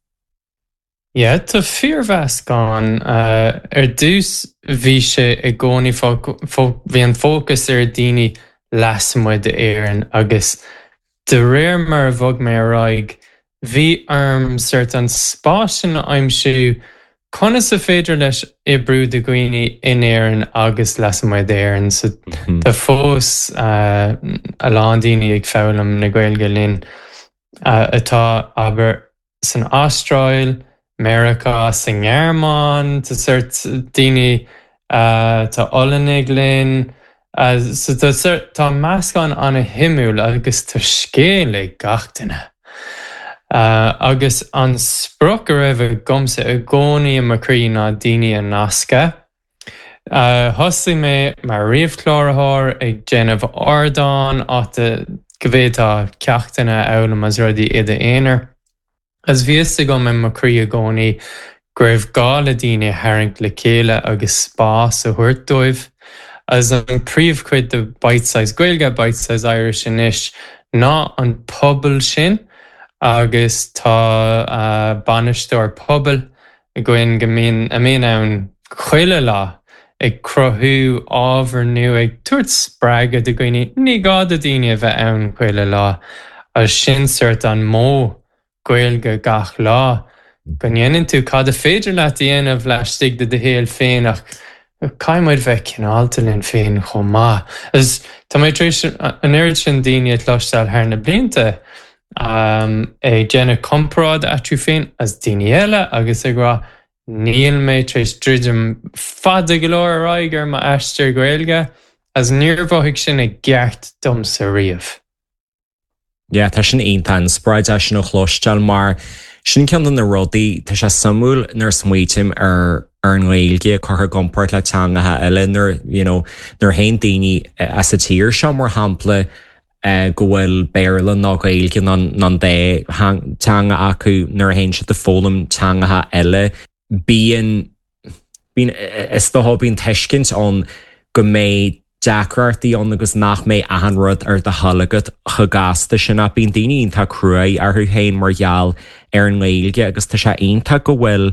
Yeah, tá fíormheascán. Ar dtús bhí sé i gcónaí, bhí an fócas ar daoine lasmuigh d'Éirinn agus de réir mar a bhog mé ar aghaidh, bhí orm sort an spás sin a aimsiú, conas a féidir leis oibriú do dhaoine in Éirinn agus lasmuigh d'Éirinn. So tá fós a lán daoine ag foghlaim na Gaeilge linn atá, abair, san Astráil, Meiriceá, sa nGearmáin, tá sort daoine, tá Ollannaigh linn, so tá sort, tá meascán an-shuimiúil agus tá scéal ag gach duine. Agus an sprioc a raibh agamsa i gcónaí i mo chroí ná daoine a nascadh. Thosaigh mé mar ríomhchláraitheoir ag déanamh ardán áit go bhféadfá ceachtanna a fhoghlaim agus rudaí i d'aonar. Agus bhí fhios agam i mo chroí i gcónaí go raibh gá le daoine a tharraingt le chéile agus spás a thabhairt dóibh. Agus an príomhchuid de Bitesize Gaeilge, Bitesize Irish anois ná an pobal sin agus tá bainisteoir pobail againn go mbíonn, a mbíonn ann chuile lá ag cruthú ábhar nua, ag tabhairt spreagadh do dhaoine. Ní gá do dhaoine a bheith ann chuile lá agus sin sort an modh Gaeilge gach lá, go ndéanann tú cad a féidir leat a dhéanamh laistigh de do shaol féin ach caithfidh muid bheith cineálta linn féin chomh maith. Agus tá mé tar éis an oiread sin daoine a chloisteáil thar na blianta ag déanamh comparáid eatarthu féin agus daoine eile agus ag rá. Níl mé tar éis druidim fada go leor ar aghaidh ar m'aistear Gaeilge, agus níor mhothaigh sin i gceart domsa riamh. Yeah, tá sin iontach inspioráideach sin a chloisteáil mar sin ceann de na rudaí, tá sé suimiúil nuair a smaoitím ar ar an nGaeilge curtha i gcomparáid le teangacha eile nuair, you know, nuair a théann daoine as an tír seo mar shampla go bhfuil Béarla nó Gaeilge nó an dá teanga acu nuair a théann siad ag foghlaim teangacha eile bíonn bíonn, is dócha, bíonn tuiscint ann go mbeidh deacrachtaí ann agus nach mbeidh achan rud ar do thoil agat chomh gasta sin ach bíonn daoine iontach cruaidh orthu féin mar gheall ar an nGaeilge agus tá sé iontach go bhfuil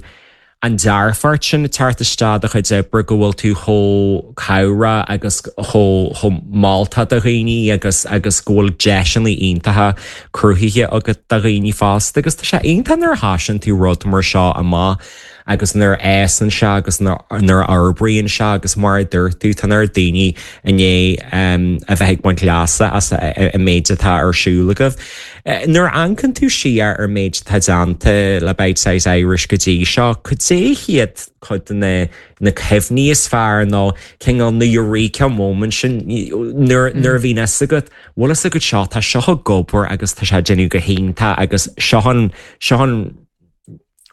an dearfacht sin ag teacht isteach i do chuid oibre, go bhfuil tú chomh cabhrach agus chomh chomh moltach do dhaoine agus agus go bhfuil deiseanna iontacha cruthaithe agat do dhaoine fosta agus tá sé iontach nuair a thosaíonn tú rud mar seo amach agus nuair a fhásann sé agus nuair a fhorbraíonn sé agus mar a dúirt tú, tá an oiread daoine i ndiaidh a bheith ag baint leasa as an méid atá ar siúl agaibh. Nuair a amharcann tú siar ar an méid atá déanta le Bitesize Irish go dtí seo, cad é hiad cuid de na na cuimhní is fearr nó cineál na eureka moments sin nuair nuair a bhíonn fhios agat, bhfuil fhios agat seo, tá seo ag obair agus tá sé ag déanamh go hiontach agus seo an seo an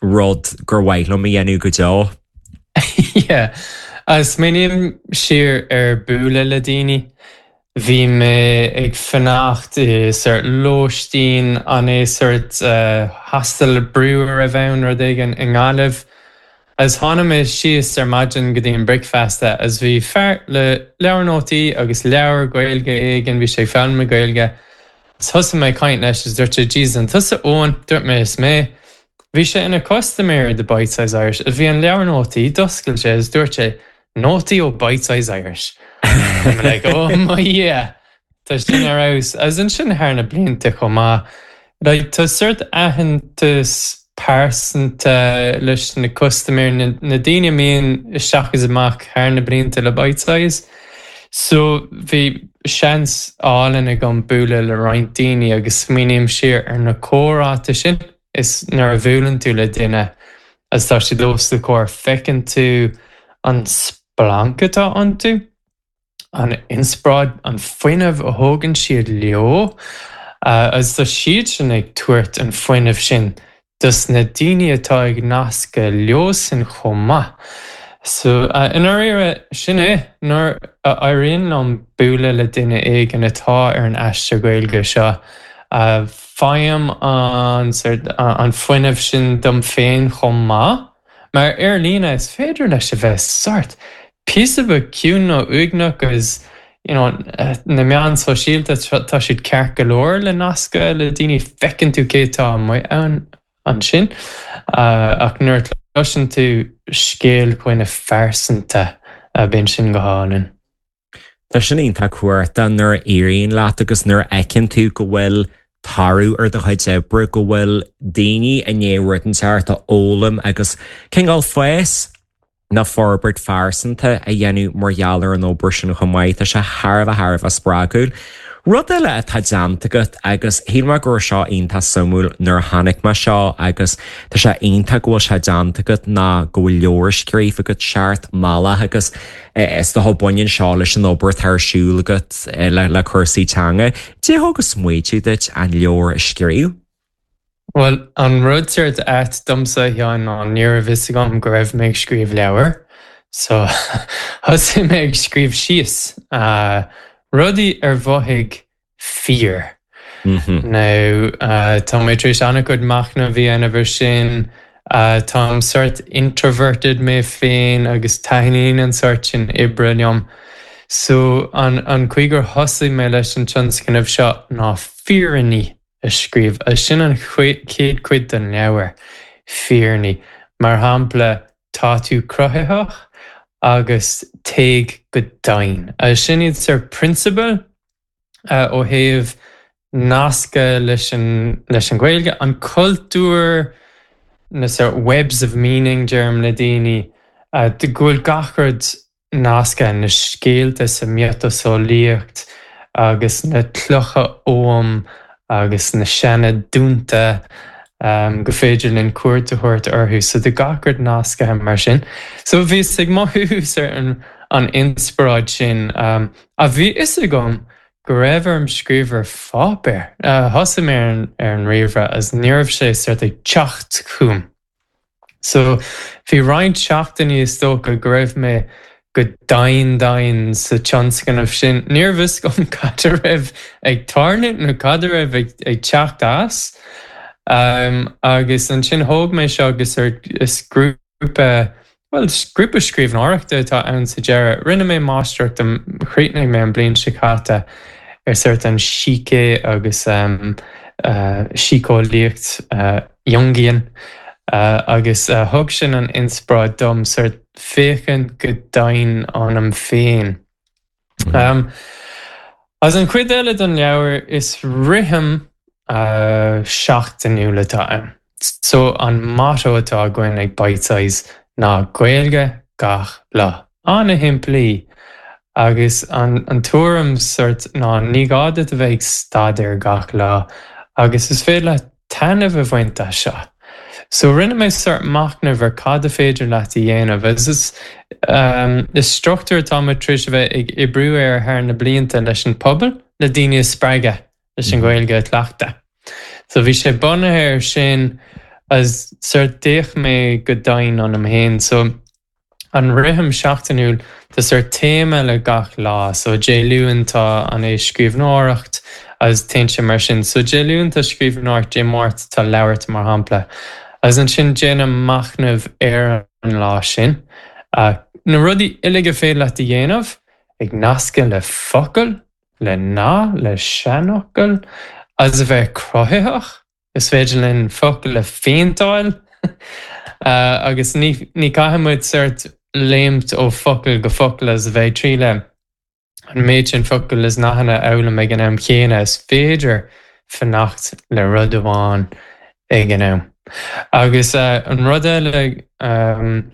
rud gur mhaith liom a dhéanamh go deo. Yeah. Smaoiním siar ar bualadh le daoine. Bhí mé ag fanacht i sort lóistín, an é sort hostel brú a raibh ann, rud éigin, i nGaillimh. Agus tháinig mé síos ar maidin go dtí an bricfeasta agus bhí fear le leabhar nótaí agus leabhar Gaeilge éigin, bhí sé ag foghlaim na Gaeilge. Agus thosaigh mé ag caint leis agus dúirt sé, Jesus, an tusa Eoin? Dúirt mé, is mé. Bhí sé ina custaiméir de Bitesize Irish agus bhí an leabhar nótaí, d'oscail sé agus dúirt sé, nótaí ó Bitesize Irish. I'm like, oh my Dhia, tá sin ar fheabhas. Agus ansin thar na blianta chomh maith, like, tá sort aitheantas pearsanta leis na custaiméirí, na daoine a mbíonn isteach is amach thar na blianta le Bitesize. So bhí seans álainn agam bualadh le roinnt daoine agus smaoiním siar ar na comhráite sin is nuair a bhuaileann tú le duine agus tá siad os do chomhair feiceann tú an splanc atá iontu. an inspioráid, an fuinneamh a thógann siad leo agus tá siad sin ag tabhairt an fuinneamh sin dos na daoine atá ag nascadh leosan chomh maith. So, i ndáiríre, sin é, nuair a éiríonn liom bualadh le duine éigin atá ar an aistear Gaeilge seo, faighim an sort, an fuinneamh sin dom féin chomh maith. Mar ar líne is féidir leis a bheith sort píosa beag ciúin nó uaigneach agus you know na meáin sóisialta tá siad ceart go leor le nascadh le daoine, feiceann tú cé atá amuigh ann ansin ach nuair a chloiseann tú scéal dhuine phearsanta bíonn sin go hálainn. Tá sin iontach cumhachtach nuair a éiríonn leat agus nuair a fheiceann tú go bhfuil toradh ar do chuid oibre, go bhfuil daoine i ndiaidh rud inteacht a fhoghlaim agus cineál fás nó forbairt phearsanta a dhéanamh mar gheall ar an obair sin chomh maith. Tá sé thar a bheith thar a bheith spreagúil. Rud eile atá déanta agat agus shíl mé go raibh seo iontach suimiúil nuair a chonaic mé seo agus tá sé iontach go bhfuil sé déanta agat ná go bhfuil leabhar scríofa agat, Seacht mBealach agus Is dócha baineann seo leis an obair atá ar siúl agat le cúrsaí teanga. Cad é a thug an smaoitiú duit an leabhar a scríobh? Bhuel, an rud sort ait domsa, a Sheáin, ná ní raibh fhios agam go raibh mé ag scríobh leabhair. So, thosaigh mé ag scríobh síos rudaí ar mhothaigh fíor. Now, tá mé tar éis an-chuid machnaimh a dhéanamh ar sin. Táim sort introverted mé féin agus taitníonn an sort sin oibre liom. So, an an chaoi gur thosaigh mé leis an tionscnamh seo ná fírinní a scríobh. Agus sin an chéad chuid den leabhar, fírinní. Mar shampla, tá tú cruthaitheach agus téigh go domhain. Agus sin iad sort prionsabail ó thaobh nascadh leis an leis an Ghaeilge, an cultúr, na sort webs of meaning deirim le daoine, go bhfuil gach rud nasctha, na scéalta sa miotaseolaíocht agus na clocha oghaim agus na seana dúnta. Go féidir linn cuairt a thabhairt orthu. So tá gach rud nascaithe mar sin. So bhíos ag mothú sort an inspioráid sin. Ach bhí fhios agam go raibh orm scríobh ar pháipéar. Thosaigh mé ar an ríomhaire agus ní raibh sé sort ag teacht chugam. So bhí roinnt seachtainí is dócha go raibh mé go domhain domhain sa tionscnamh sin. Ní raibh fhios agam cad a raibh ag tarlú nó cad a raibh ag teacht as. Agus ansin thóg mé seo agus is grúpa Bhuel, grúpa scríbhneoireachta atá ann sa deireadh. Rinne mé máistreacht, chríochnaigh mé an bliain seo caite ar sort an sícé agus síceolaíocht Jungian agus thug sin an inspioráid dom sort féachaint go domhain ionam féin. As an chuid eile den leabhar, is rithim seachtainiúil atá ann. So an motto atá againn ag Bitesize ná Gaeilge gach lá. An-shimplí. Agus an tuairim sort ná ní gá duit a bheith ag staidéar gach lá agus is féidir leat taitneamh a bhaint as seo. So rinne mé sort machnamh ar cad a féidir leat a dhéanamh agus is is struchtúr atá muid tar éis a bheith ag oibriú air thar na blianta leis an pobal le daoine a spreagadh leis an Ghaeilge a chleachtadh. So bhí sé bunaithe ar sin agus sort d'fhéach mé go domhain ionam féin. So an rithim seachtainiúil, tá sort téama le gach lá. So Dé Luain tá an é scríbhneoireacht agus téann sé mar sin. So Dé Luain tá scríbhneoireacht, Dé Máirt tá labhairt mar shampla. Agus ansin déanaim machnamh ar an lá sin. Na rudaí uilig a féidir leat a dhéanamh ag nascadh le focail, le nath, le seanfhocal, agus a bheith cruthaitheach. Is féidir linn focail a phéinteáil agus ní caithfidh muid sort léimt ó focal go focal agus a bheith ag triail an méid sin focal is nathanna a fhoghlaim ag an am chéanna. Is féidir fanacht le rud amháin ag an am. Agus an rud eile, bhí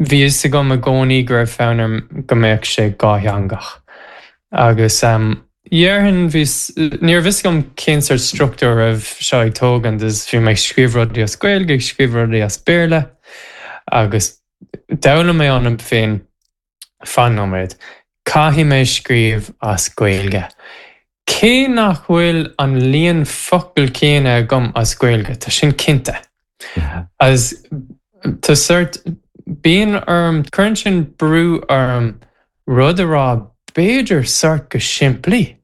fhios agam i gcónaí go raibh fonn orm go mbeadh sé dhátheangach. Agus dhéarfainn, bhí, ní raibh fhios agam cén sort struchtúr a raibh seo ag tógaint agus bhí mé ag scríobh rudaí as Gaeilge, ag scríobh rudaí as Béarla agus d'fhoghlaim mé ionam féin, fan nóiméad, caithfidh mé scríobh as Gaeilge. Cé nach bhfuil an líon focal céanna agam as Gaeilge, tá sin cinnte. Agus tá sort, bíonn orm, cuireann sin brú orm rud a rá b'fhéidir sort go simplí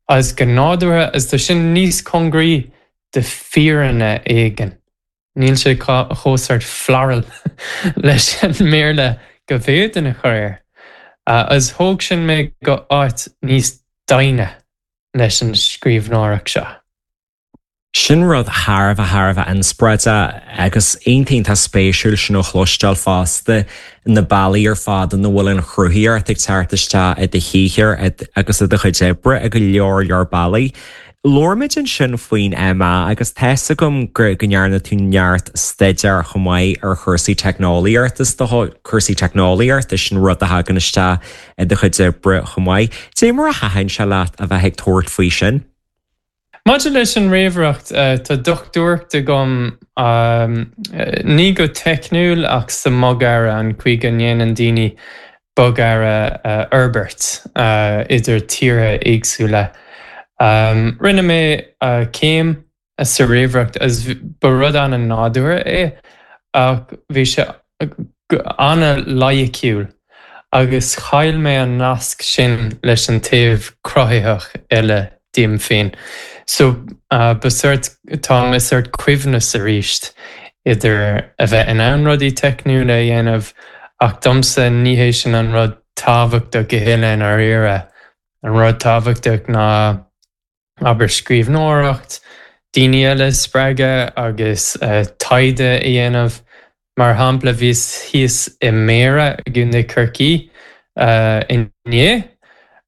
agus go nádúrtha agus tá sin níos cóngaraí do fírinne éigin. Níl sé chomh sort floral leis an mBéarla go bhféadfainn a chur air. Agus thóg sin mé go áit níos doimhne leis an scríbhneoireacht seo. Sin rud thar a bheith, thar a bheith inspioráideach agus iontach, iontach spéisiúil sin a chloisteáil fosta, na bealaí ar fad ina bhfuil an chruthaíocht ag teacht isteach i do shaothar agus i do chuid oibre i go leor leor bealaí. Labhair muid ansin faoin MA agus tá's agam go ndearna tú neart staidéir chomh maith ar chúrsaí teicneolaíochta, is dócha, cúrsaí teicneolaíochta, sin rud a thagann isteach i do chuid oibre chomh maith. Dé mar a thaitin sé leat a bheith ag tabhairt faoi sin? Maidir leis an ríomhaireacht, tá dochtúireacht agam, ní go teicniúil ach sa mbogearra, an chaoi go ndéanann daoine bogearra a fhorbairt idir tíortha éagsúla. Rinne mé céim sa ríomhaireacht agus ba rud an-nádúrtha é ach bhí sé an-loighiciúil agus chaill mé an nasc sin leis an taobh cruthaitheach eile díom féin. So ba sort, táim i sort coibhneas arís idir a bheith in ann rudaí teicniúla a dhéanamh ach domsa ní hé sin an rud tábhachtach a thuilleadh i ndáiríre. An rud tábhachtach ná abair scríbhneoireacht, daoine eile a spreagadh agus taighde a dhéanamh. Mar shampla, bhíos thíos i mBéarra i gContae Chorcaí inné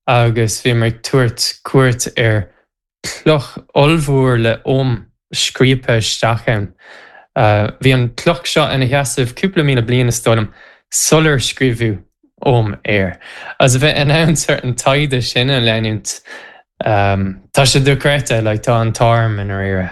agus bhíomar ag tabhairt cuairt ar chloch ollmhór le Ogham scríobtha isteach ann. Bhí an chloch seo ina sheasamh cúpla míle bliain, is dóigh liom, sular scríobhadh Ogham air. Agus a bheith in ann sort an taighde sin a leanúint, tá sé dochreidte, like, tá an t-ádh orm i ndáiríre.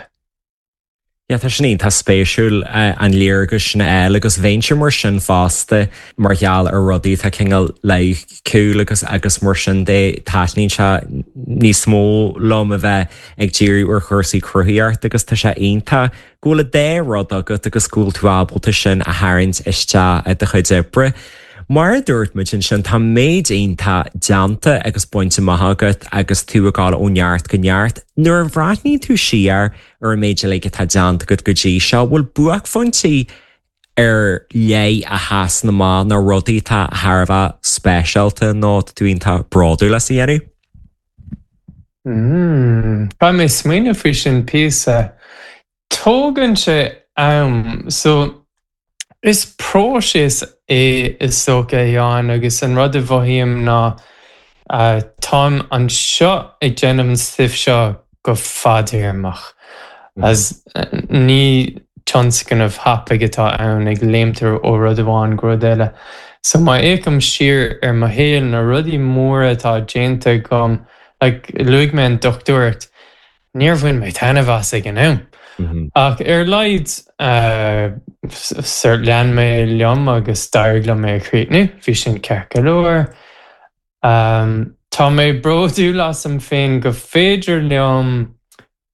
Yeah, tá sin iontach spéisiúil an léargas sin a fháil agus bheinnse mar sin fosta mar gheall ar rudaí atá cineál loighciúil agus agus mar sin de taitníonn sé níos mó liom a bheith ag díriú ar chúrsaí cruthaitheachta agus tá sé iontach go bhfuil an dá rud agat agus go bhfuil tú ábalta sin a tharraingt isteach i do chuid oibre. Mar a dúirt muid ansin, tá méid iontach déanta agus bainte amach agat agus tú ag dul ó neart go neart. Nuair a bhreathnaíonn tú siar ar an méid uilig atá déanta agat go dtí seo, bhfuil buaicphointí ar leith a sheasann amach nó rudaí atá thar a bheith speisialta nó tá tú iontach bródúil as a dhéanamh? Mm, caithfidh mé smaoineamh faoi sin píosa. Tógann sé am, so is próiseas é is dócha, a Sheáin, agus an rud a mhothaím ná táim anseo ag déanamh an stuif seo go fadtéarmach, as ní tionscnamh tapaidh atá ann ag léimt ó rud amháin go rud eile. So má fhéachaim siar ar mo shaol, na rudaí móra atá déanta agam, like luaigh mé an dochtúireacht, níor bhain mé taitneamh as ag an am. Ach ar a laghad sort lean mé liom agus d'éirigh liom é a chríochnú, bhí sin ceart go leor. Tá mé bródúil asam féin go féidir liom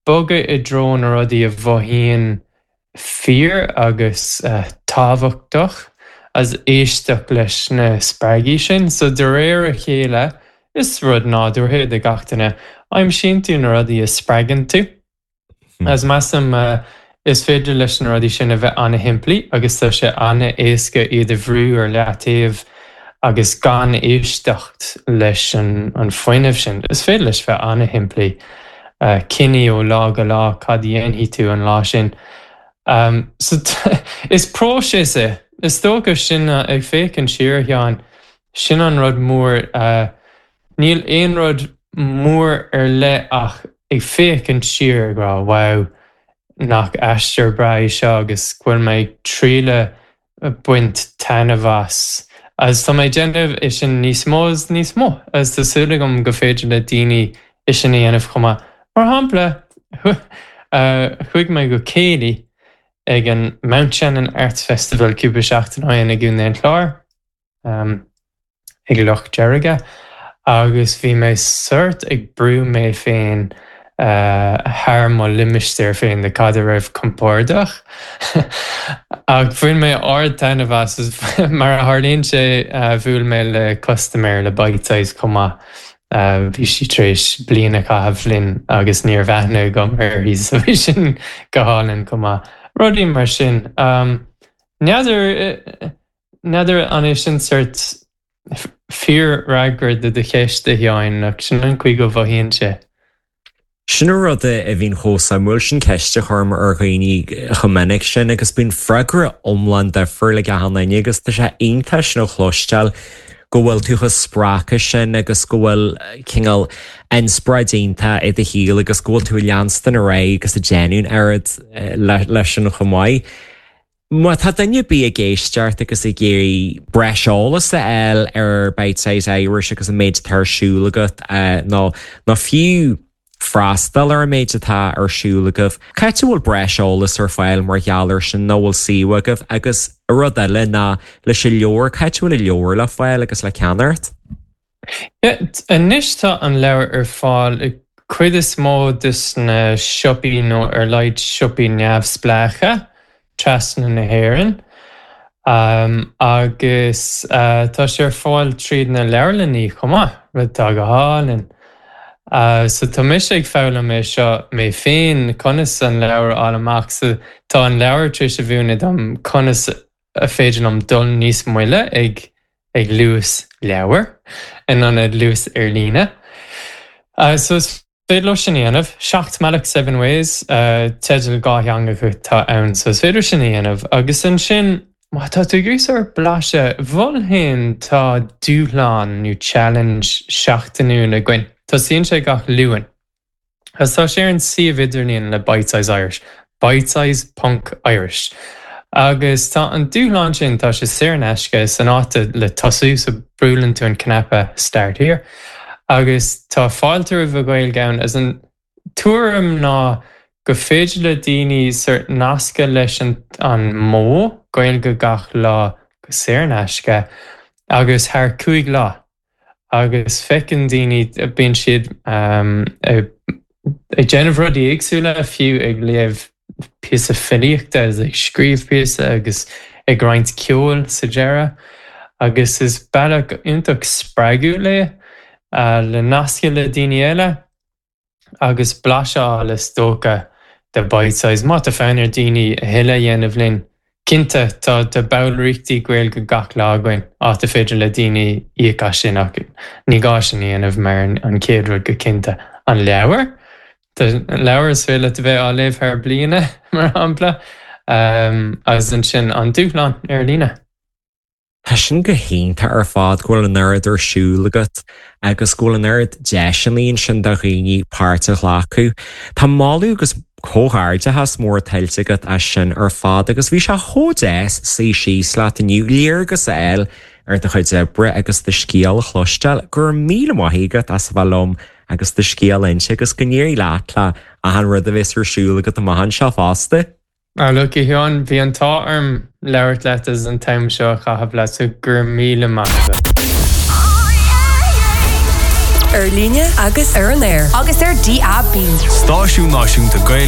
bogadh i dtreo na rudaí a mhothaíonn fíor agus tábhachtach as éisteacht leis na spreagaí sin. So de réir a chéile, is rud nádúrtha é do gach duine, aimsíonn tú na rudaí a spreagann tú. As measaim, is féidir leis na rudaí sin a bheith an-shimplí agus tá sé an-éasca iad a bhrú ar leataobh agus gan éisteacht leis an fuinneamh sin. Is féidir leis bheith an-shimplí. Cinní ó lá go lá cad a dhéanfaidh tú an lá sin. So is próiseas é. Is dócha sin, ag féachaint siar, a Sheáin, sin an rud mór. Níl aon rud mór ar leith ach ag féachaint siar ag rá wow, nach aistear breá é seo agus go bhfuil mé ag triail baint taitneamh as. Agus tá mé ag déanamh é sin níos mó is níos mó agus tá súil agam go féidir le daoine é sin a dhéanamh chomh maith. Mar shampla, chuaigh mé go céilí ag an Mountshannon Arts Festival cúpla seachtain ó shin i gContae an Chláir. ag Loch Deirge agus bhí mé sort ag brú mé féin thar mo limistéar féin de cad a raibh compordach. Ach bhain mé ard-taitneamh as is mar a tharlaíonn sé bhuail mé le custaiméir le Bitesize chomh maith. Bhí sí tar éis bliain a chaitheamh linn agus ní raibh aithne agam uirthi so bhí sin go hálainn chomh maith. Rudaí mar sin. N'fheadar. N'fheadar an é sin sort fíorfhreagra do do cheist, a Sheáin, ach sin an chaoi go mhothaíonn sé. Sin an rud a bhíonn chomh suimiúil, sin ceist a chuirim ar dhaoine chomh minic sin agus bíonn freagra iomlán difriúil ag achan duine agus tá sé iontach sin a chloisteáil go bhfuil tú chomh spreagtha sin agus go bhfuil cineál inspioráid iontach i do shaol agus go bhfuil tú ag leanstan ar aghaidh agus ag déanamh an oiread leis sin chomh maith. Má tá duine ar bith ag éisteacht agus ag iarraidh breis eolas a fháil ar Bitesize Irish agus an méid atá ar siúl agat nó nó fiú freastal ar an méid atá ar siúl agaibh, cá háit a bhfuil breis eolas ar fáil mar gheall air sin nó bhfuil suíomh agaibh? Agus rud eile ná leis an leabhar, cá háit a bhfuil an leabhar le fáil agus le ceannacht? Anois tá an leabhar ar fáil i cuid is mó de na siopaí nó ar a laghad siopaí neamhspleácha trasna na hÉireann agus tá sé ar fáil tríd na leabharlannaí chomh maith, rud atá go hálainn. So tá mise ag foghlaim é seo mé féin conas an leabhar a fháil amach so tá an leabhar tar éis a mhúineadh dom conas a féidir liom dul níos moille ag ag luas leabhair in ionad luas ar líne. So is féidir leo sin a dhéanamh. Seacht mBealach Seven Ways, teideal dhátheangach atá ann, so is féidir sin a dhéanamh. Agus ansin, má tá tú ag iarraidh sórt blaiseadh, mholfainn tá dúshlán nó challenge seachtainiúil againn. Tosaíonn sé gach Luan. Agus tá sé ar an suíomh idirlíon le Bitesize Irish, bitesize ponc Irish. Agus tá an dúshlán sin, tá sé saor in aisce, is an áit le tosú, so buaileann tú an cnaipe Start Here. Agus tá fáilte roimh an Ghaeilge ann, as an tuairim ná. Go féidir le daoine sort nascadh leis an an modh Gaeilge gach lá go saor in aisce agus thar 5 lá agus feiceann daoine bíonn siad ag déanamh rudaí éagsúla fiú ag léamh píosa filíochta agus ag scríobh píosa agus ag roinnt ceoil sa deireadh agus is bealach iontach spreagúil é le nascadh le daoine eile. agus blaiseadh a fháil is dócha de Bitesize. Má tá fonn ar daoine a thuilleadh a dhéanamh linn, cinnte tá tá ballraíochtaí Gaeilge gach lá againn, áit a féidir le daoine íoc as sin ach ní gá sin a dhéanamh mar an chéad rud go cinnte an leabhar. Tá leabhar is féidir leat a bheith á léamh thar bliana mar shampla agus ansin an dúshlán ar líne. Tá sin go hiontach ar fad go bhfuil an oiread ar siúl agat agus go bhfuil an oiread deiseanna ansin do dhaoine páirt a ghlacadh. Tá moladh agus comhghairdeachas mór tuillte agat as sin ar fad agus bhí sé chomh deas suí síos leat inniu, léargas a fháil ar do chuid oibre agus do scéal a chloisteáil. Go raibh míle maith agat as a bheith liom agus do scéal a inse agus go n-éirí leat le achan rud a bheas ar siúl agat amach anseo fosta. Ah look, a Sheáin, bhí an t-ádh orm labhairt leat agus an t-am seo a chaitheamh leat, so go raibh míle maith agat. Ar líne agus ar an aer. Agus ar DAB. Stáisiún Náisiúnta Gaeilge.